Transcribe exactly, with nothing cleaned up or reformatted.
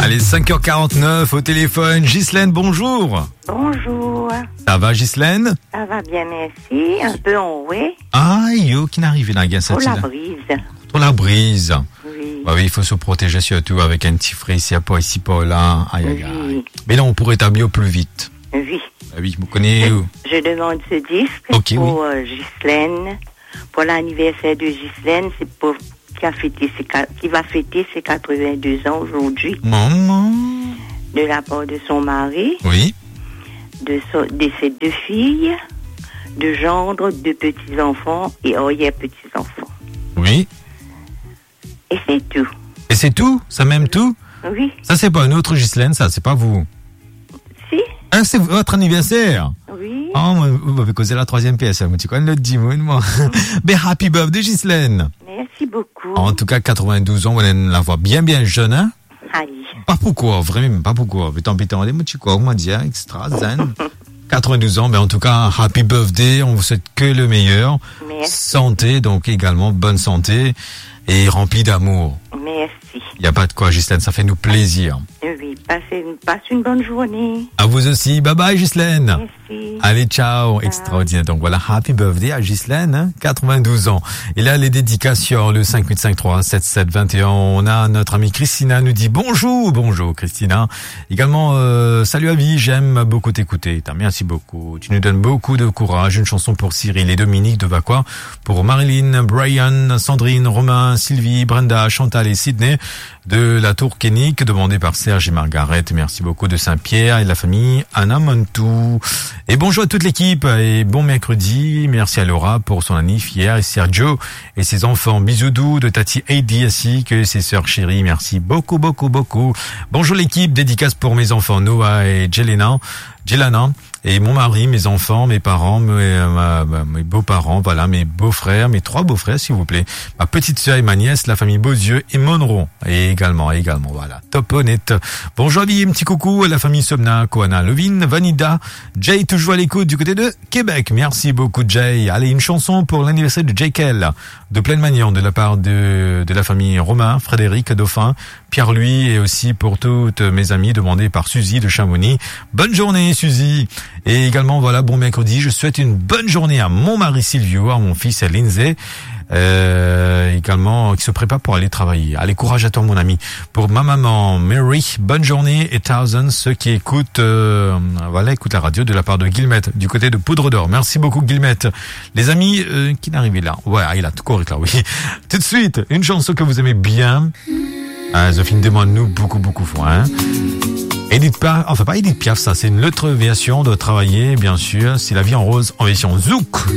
Les cinq heures quarante-neuf au téléphone. Ghislaine, bonjour. Bonjour. Ça va, Ghislaine ? Ça va bien, merci. Un peu enroué. Ah, yo, ki ena arive la, gars, Trop cette la île ? Brise. Trop la brise. Oui. Bah oui, il faut se protéger surtout avec un petit frais ici, par ici, par là. Aïe, aïe, aïe. Oui. Mais là, on pourrait établir au plus vite. Oui. Ah oui, vous connaissez. Je, je demande ce disque Ok, pour, oui. euh, Ghislaine, pour l'anniversaire de Ghislaine, c'est pour, qui a fêté ses qua-, qui va fêter ses quatre-vingt-deux ans aujourd'hui, Maman. De la part de son mari, Oui. de son, de ses deux filles, de gendres, de petits-enfants et arrière-petits-enfants. Oui. Et c'est tout. Et c'est tout ? Ça même tout ? Oui. Ça, c'est pas une autre Ghislaine, ça, c'est pas vous. Si. Ah, c'est votre anniversaire ? Oui. Ah, moi, vous m'avez causé la troisième pièce, hein, moi, tu connais le dimoun, moi. Ben, happy birthday, Ghislaine. Merci beaucoup. En tout cas, quatre-vingt-douze ans, on a la voix bien, bien jeune, hein ? Aïe. Pas pourquoi, vraiment, pas pourquoi. Putain, putain, on dit, moi, tu quoi, comment dire, extra zen. Quatre-vingt-douze ans, mais en tout cas, happy birthday, on vous souhaite que le meilleur. Merci. Santé, donc également bonne santé et remplie d'amour. Merci. Il n'y a pas de quoi, Ghislaine, ça fait nous plaisir. Oui, passez une, passe une bonne journée. À vous aussi. Bye bye, Ghislaine. Merci. Allez, ciao. Ciao. Extraordinaire. Donc voilà, happy birthday à Ghislaine, hein, quatre-vingt-douze ans. Et là, les dédications, le cinq huit cinq trois sept sept vingt et un. On a notre amie Christina nous dit bonjour. Bonjour, Christina. Également, euh, salut à vie, j'aime beaucoup t'écouter. Putain, merci beaucoup. Tu nous donnes beaucoup de courage. Une chanson pour Cyril et Dominique de Vacois, pour Marilyn, Brian, Sandrine, Romain, Sylvie, Brenda, Chantal et Sydney de la Tour Koenig, demandée par Serge et Margaret. Merci beaucoup de Saint-Pierre et de la famille Anamantou. Et bonjour à toute l'équipe et bon mercredi. Merci à Laura pour son anniv hier et Sergio et ses enfants. Bisous doux de Tati Heidi ainsi que ses sœurs chéries. Merci beaucoup, beaucoup, beaucoup. Bonjour l'équipe, dédicace pour mes enfants Noah et Jelena, Jelana, et mon mari, mes enfants, mes parents, mes, euh, ma, ma, mes beaux-parents, voilà, mes beaux-frères, mes trois beaux-frères, s'il vous plaît, ma petite sœur et ma nièce, la famille Beauzieux et Monroe, et également, également, voilà, top honnête. Bonjour, un petit coucou à la famille Somna, Koana, Lovin, Vanida, Jay, toujours à l'écoute du côté de Québec. Merci beaucoup, Jay. Allez, une chanson pour l'anniversaire de Jay Kell, de Plaine Magnan, de la part de, de la famille Romain, Frédéric, Dauphin, Pierre-Louis, et aussi pour toutes mes amies, demandée par Suzy de Chamonix. Bonne journée, Suzy. Et également, voilà, bon mercredi. Je souhaite une bonne journée à mon mari Silvio, à mon fils Lindsay, euh, également, qui se prépare pour aller travailler. Allez, courage à toi, mon ami. Pour ma maman, Mary, bonne journée et Thousand, ceux qui écoutent, euh, voilà, écoutent la radio de la part de Guillemette, du côté de Poudre d'Or. Merci beaucoup, Guillemette. Les amis, euh, ki ena arive la ? Ouais, il a tout correct là, oui. Tout de suite, une chanson que vous aimez bien. Ah, Zofine demande nous beaucoup, beaucoup fort, hein. Edith Piaf, enfin pas Edith Piaf, ça, c'est une autre version de Travailler, bien sûr. C'est La vie en rose en version zouk.